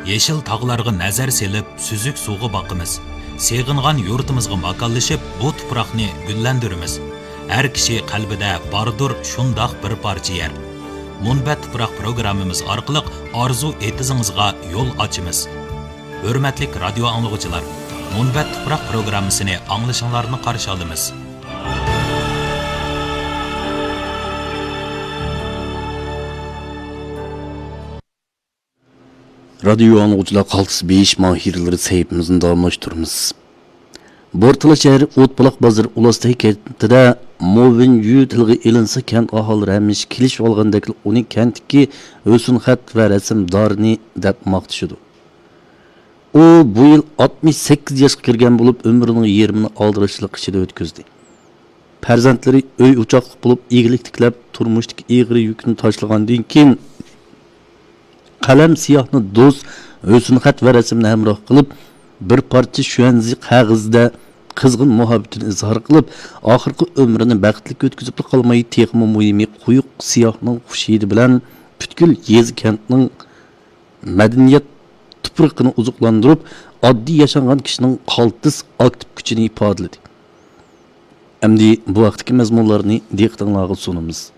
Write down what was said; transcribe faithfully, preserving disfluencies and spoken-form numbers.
يېشىل تاغلارغا نەزەر سېلىپ، سۈزۈك سۇغا باقىمىز. سېغىنغان يۇرتىمىزغا ماكانلىشىپ، بۇ تۇپراقنى گۈللەندۈرىمىز. ھەر كىشى قەلبىدە باردۇر شۇنداق بىر پارچە يەر. مۇنبەت تۇپراق پروگراممىمىز ئارقىلىق ئارزۇ ئېتىزىڭىزغا يول ئاچىمىز. ھۆرمەتلىك رادىيو ئاڭلىغۇچىلار، مۇنبەت تۇپراق پروگراممىسىنى ئاڭلىشىڭلارنى قارشى ئالىمىز. رادىيو ئاڭلىغۇچىلار، قالتىس بېيىش ماھىرلىرى سەھىپىمىزنى داۋاملاشتۇرىمىز. بورتالا شەھىرى ئوتبۇلاق بازىرى ئۇلاستەي كەنتىدە مو ۋېن يۈ تىلغا ئېلىنسا، كەنت ئاھالىلىرى ھەمىشە كېلىشىۋالغاندەكلا ئۇنى كەنتتىكى ھۆسنخەت ۋە رەسىم دارىنى دەپ ماختىشىدۇ. ئۇ بۇ يىل ئاتمىش سەككىز ياشقا كىرگەن بولۇپ، ئۆمرىنىڭ يېرىمىنى ئالدىراشچىلىق ئىچىدە ئۆتكۈزدى. پەرزەنتلىرى ئۆي-ئوچاقلىق بولۇپ، ئىگىلىك تىكلەپ، تۇرمۇشتىكى ئېغىر يۈكنى تاشلىغاندىن كېيىن، قەلەم سىياھنى دوست ھۆسنخەت ۋە رەسىمنى ھەمراھ قىلىپ، بىر پارچە شۈەنزى قەغىزىدە قىزغىن مۇھەببىتىنى ئىزھار قىلىپ، ئاخىرقى ئۆمرىنى بەختلىك ئۆتكۈزۈپلا قالماي، تېخىمۇ مۇھىمى، قويۇق سىياھنىڭ خۇش ھىدى بىلەن پۈتكۈل يېزا-كەنتنىڭ مەدەنىيەت تۇپرىقىنى ئوزۇقلاندۇرۇپ، ئاددىي ياشانغان كىشىنىڭ قالتىس ئاكتىپ كۈچىنى ئىپادىلىدى. ئەمدى بۇ ھەقتىكى مەزمۇنلارنى دىققىتىڭلارغا سۇنىمىز.